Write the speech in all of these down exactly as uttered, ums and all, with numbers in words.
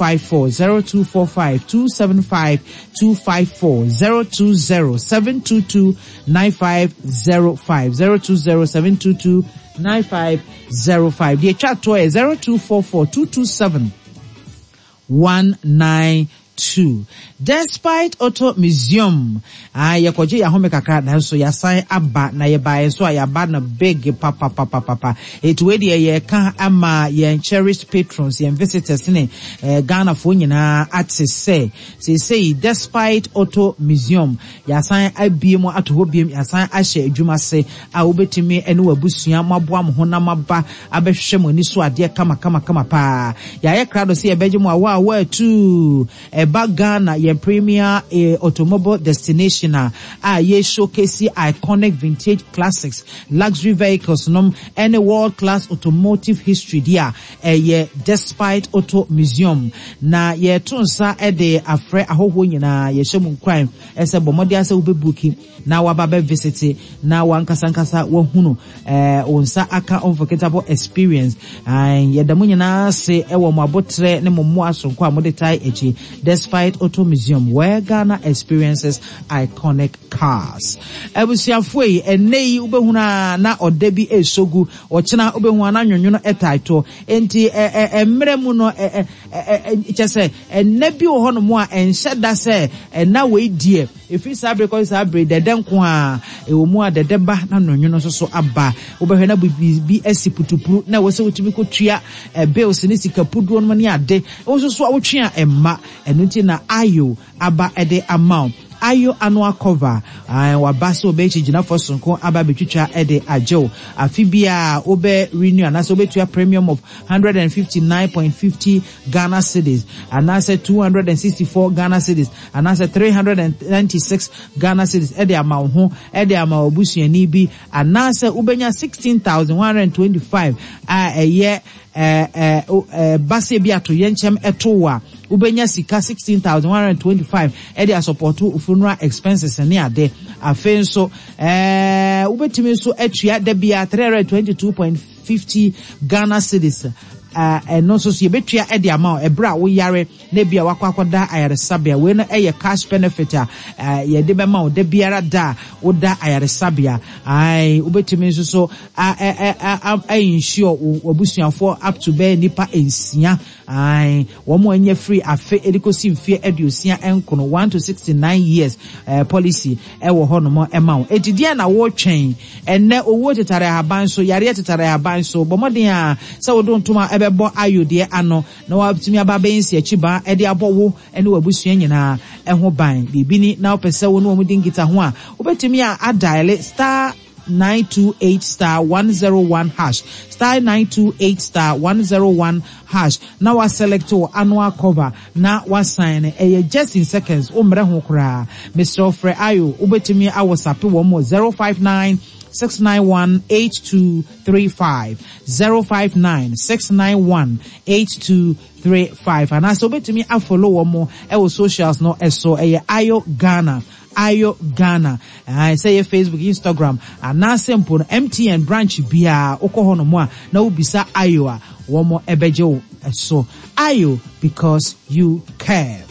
five four zero two four five two seven five two five four zero two zero seven two two nine five zero five zero two zero seven two two nine five zero five. Deɛ etwa toɔ yɛ zero two four four two two seven one nine two. Despite Auto Museum, ah, yɛkɔgye yɛn ahome kakra nanso yɛasan aba na yɛbaeɛ nso a yɛaba no big papapapapa. Eti wei deɛ yɛka ama yɛn cherished patrons, yɛn visitors ne eh, Ghanafoɔ nyinaa ate sɛ seesei Despite Auto Museum yɛasan abie mu ato hɔ biem, yɛasan ahyɛ adwuma ase a wobɛtumi ne w'abusua moaboa mo ho na moaba abɛhwehwɛ mo ani so adeɛ kama kama kama paa. Yɛayɛ krado sɛ yɛbɛgye mo awa a wɔatu ɛba Ghana yɛn premier eh, automobile destination a a yɛ showcase iconic vintage classics, luxury vehicles nom ɛne world class automotive history di a ɛyɛ Despite Auto Museum na yɛto nsa ɛde afrɛ ahɔhoɔ nyinaa yɛhyɛ mu nkuran ɛsɛ bɔ mmɔden asɛ wobɛ book na waba bɛ visit na wankasankasa wahunu ɛɛ wo nsa aka unforgettable experience ɛɛ yɛda mo nyinaa ase ɛwɔ mo abotrɛ ne mo mmoa sonko a mode tae akyi Despite Auto Museum where Ghana experiences iconic cars abusuafoɔ yi ɛnɛ yi wobɛhunu a na ɔda bi esogu ɔkyena wobɛhu a na nwonwono ɛtae toɔ nti ɛ ɛ mmerɛ mu no ɛ ɛ ɛ kyɛ sɛ ɛnɛ bi wɔ hɔnom a ɛnhyɛ da sɛ ɛna wei deɛ ɛfiri saa bere kɔsi saa bere dɛdɛ nko a ɛwɔ mu a dɛdɛ ba na nwonwono nso so aba wobɛhwɛ na biribi asi putupuru na ɛwɔ sɛ wotumi kɔtua ɛ bills ne sika puduo no ne ade wo nso so a wotwe a ɛmma ɛno nti na ayo aba ɛde ama wo ayo annual cover waba sɛ wobɛyɛ gyinafoɔ sonko aba abɛtwitwa ɛde agyew afe bia wobɛ renew anaasɛ wobɛtua premium of hundred and fifty nine point fifty Ghana cedis anaasɛ two hundred and sixty four Ghana cedis anaasɛ three hundred and ninety six Ghana cedis ɛde ama wo ho ɛde ama wo busuani bi anaasɛ wobɛnya sixteen thousand one hundred and twenty five a ɛyɛ ɛɛ ɛɛ basia bi ato yɛn nkyɛn ɛto wo a wobɛnya sika sixteen thousand one hundred twenty five ɛde a support funeral expenses ne ade afei nso ɛɛ wobɛtumi nso atua da bia three hundred twenty two point fifty Ghana cedis ɛno nso so yɛbɛtua ɛde ama wo ɛberɛ a woyare na ebi a wakɔ akɔda ayaresabea wei no ɛyɛ cash benefit a yɛde bɛma wo da biara da a woda ayaresabea ae wobɛtumi nso so a ɛ ɛ ɛ insure w'abusuafoɔ up to bɛyɛ nipa nsia ae wɔn a anya firi afe ɛde kɔsi mfeɛ aduosia nkono one to sixty nine years ɛɛ policy ɛwɔ hɔnom ɛma wo eti deɛ na wɔretwɛn ɛnɛ owuo tetare ahaban so yareɛ tetare ahaban so bɔ mmɔden a sɛ wode ntoma ɛbɛbɔ ayo deɛ ano na watumi aba abɛyɛ nsi akyi ban ɛde abɔ wo ɛne w'abusua nyinaa ɛho ban biribi ni na wopɛ sɛ wo ne wɔn di nkita ho a wobɛtumi a a dial star nine two eight star one zero one hash star nine two eight star one zero one hash na wa select wo annual cover na wa sign ɛyɛ just in seconds wo mmerɛ ho koraa Mr. Frɛ ayo wobɛtumi a WhatsApp wɔn mo zero five nine six nine one eight two three five zero five nine six nine one eight two three five anaasɛ wobɛtumi a follow wɔn mo ɛwɔ socials no ɛso ɛyɛ ayo Ghana ayo Ghana sɛ yɛ Facebook Instagram anaasɛ mpo no MTN branch biara wokɔ hɔ nom a na wobisa ayo a wɔn ɛbɛgye wo ɛso ayo because you care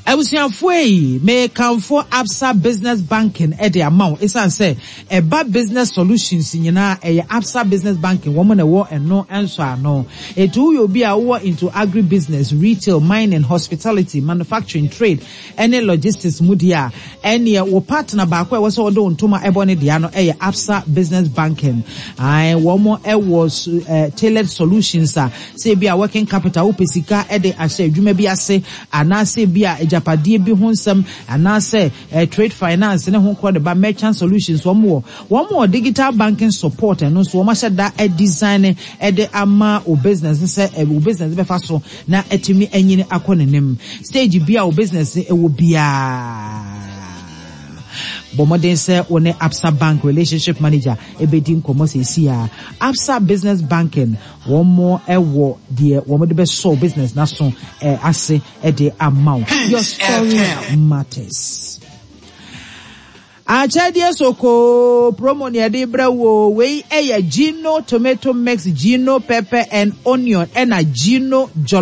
abusuafoɔ yi mekamfo Absa Business Banking ɛde ama wo ɛsiane sɛ ɛba business solutions nyinaa ɛyɛ Absa Business Banking wɔn na ɛwɔ ɛno nso ano etu woyɛ obi a wowɔ into agri business retail mining hospitality manufacturing trade ɛne logistics mu deɛ a ɛneɛ wo partner baako a ɛwɔ sɛ wɔde wo ntoma ɛbɔ ne deɛ no ɛyɛ Absa Business Banking ae wɔn ɛwɔ ɛɛ tailored solutions a sɛ ebi a working capital wopɛ sika ɛde ahyɛ adwuma bi ase anaasɛ ebi a agyapadeɛ bi ho nsɛm anaasɛ eh, trade finance ne ho korɔ de ba merchant solutions wɔn wɔ wɔn wɔ digital banking support ɛno nso wɔn ahyɛ da design ɛde ama o business sɛ ɛ o business bɛfa so na ɛtumi anyini akɔ n'anim stage bi a o business ɛwɔ biara bɔ mmɔden sɛ wo ne Absa Bank relationship manager ɛbɛdi nkɔmmɔ seesi a Absa Business Banking wɔn mo ɛwɔ deɛ wɔn de bɛsɔ business n'aso ɛ ase ɛde ama wo your story matters akyɛdeɛ soko promo ne yɛde brɛ wo wei ɛyɛ Gino tomato mix Gino pepper and onion ɛna Gino jollof